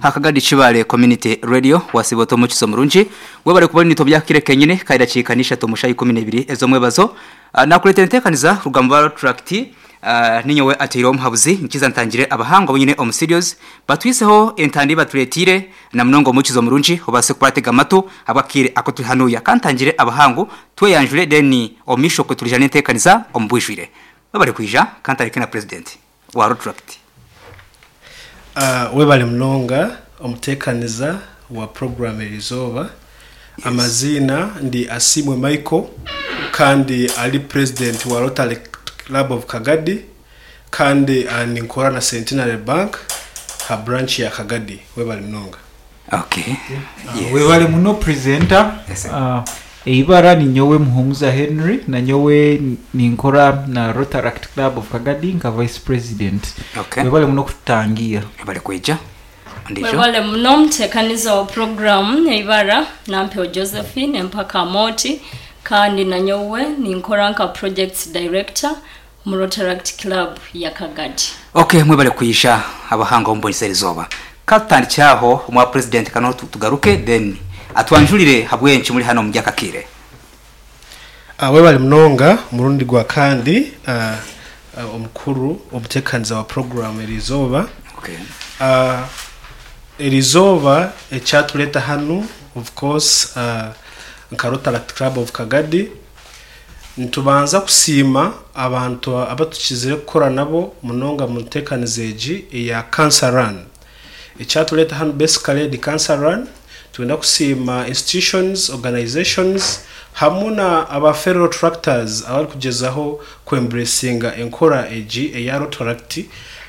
Hakagadi Kibaale Community Radio wasiiba ota omukizo murungi webare kuba ori naitwe obyakire kenyine kandi edakiika n'ishatu omu shaaha 12 ez'omwebazo nakureetera enteekaniza kuruga mu ba Rotaract ninyowe ateireho omuhabuzi nkiza ntangire abahangwa abu nyine omu studios batwiseho entanda ei batureeteire na munonga omukizo murungi obaase kuba oratega amatu ahabw'akaire aku turi hanuya ka ntangire abahangu tweyanjure then omu maisho okwe turiija n'enteekaniza omu bwijwire webare kwija ka ntandike na president wa Rotaract. Webale munonga omutekaniza wa puroguramu erizooba. Amaziina ndi Asiimwe Michael kandi ari purezidenti wa Rotary Club of Kagadi kandi ninkora na Centenary Bank ha branch ya Kagadi. Webale munonga. Okay. Yes. Webale muno presenter. Yes, sir. Eibara ninyowe Muhumuza Henry nanyowe ninkora na Rotaract Club of Kagadi nka vice president. Okay. Webale muno kututangiira. Webale kwija. Ondijo. Webale muno omutekaniza wa puroguramu eibara Nampewo Josephine empaka Amooti kandi nanyowe ninkora nka projects director omu Rotaract Club ya Kagadi. Ok mwebale kwija abahangu ab'omu erizooba. Katutandikire aho omwa president kanoho tugaruke then atwanjurire habwenki muri hanu omuri aka kaire. Webale munonga omurundi gwa kandi omukuru omutekaniza wa puroguramu erizooba. Okay. Erizooba ekyatureta hanu of course nka Rotaract Club of Kagadi Nitubanza kusiima abantu abatukizire kukora nabo munonga omu nteekaniza egi eya Cancer Run. Ekyatureeta hanu basically ni Cancer Run, nitwenda kusiima institutions, organisations hamwe na aba fellow Rotaractors abarikugyezaho ku embracinga enkora egi eya Rotaract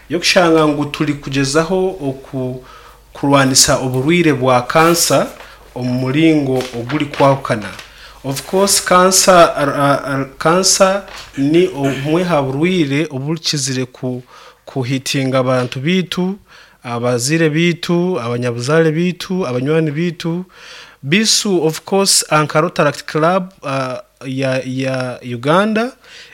y'okushanga ngu turikugyezaho oku kurwanisa oburwaire bwa kansa omu muringo ogurikwahukana. Of course kansa kansa ni obumwe aha burwaire oburikizire kuhitinga abantu baitu, abazaire baitu, abanyabuzaare baitu, abanywani baitu. Beitu of course nka Rotaract Club ya Uganda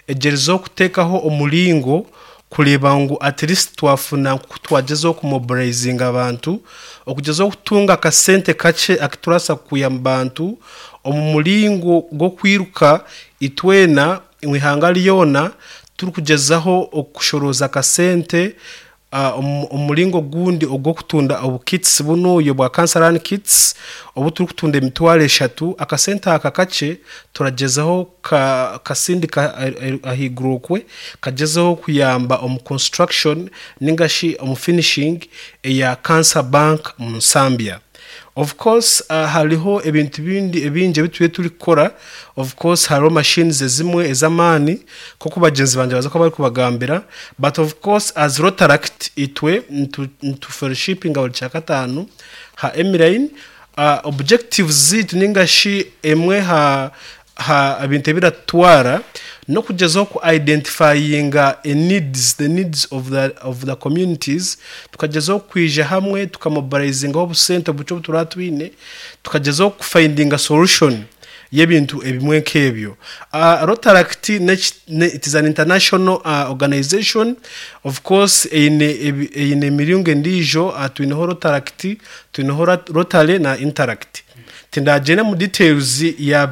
egyerizeho kuteekaho omuringo kureeba ngu at least twafuna nk'oku twagyezaho kumobilizinga abantu, okugyezaho kutunga akasente kakye aku turabaasa kwiha omu bantu omu muringo gw'okwiruka itwena omu ihanga ryona turikugyezaho okushorooza akasente Omu muringo ogundi ogw'okutunda obu kits bunuya obwa Cancer Run Kits obu turikutunda emitwaro eshatu, akasente aka kakye turagyezaho kukasindika ahaiguru okwe kagyezeho kuyamba omu construction ninga shi omu finishing eya Cancer Bank omu Nsambya. Of course hariho ebintu ebindi ebingi ebi turiyo turikukora, of course hariho machines ezimwe ez'amaani nk'oku bagyenzi bangye baaza kuba barikubagambira but of course as Rotaract itwe nitu fellowshipinga buri kyakataano ha Emiline, objectives zaitu ninga shi emwe ha Ha bintu ebiratutwara n'okugyezaho ku identifyinga e needs, the needs of the of the communities, tukagyezaho kwija hamwe tukamobilizingaho obusente obukye obu turaba twine, tukagyezaho kufindinga solution y'ebintu ebimwe nk'ebyo. Rotaract n'eki it is an international organization, of course eine eine emiringo endiijo, twineho Rotaract, twineho Rotary na Interact. Tindagyenda omu details ya.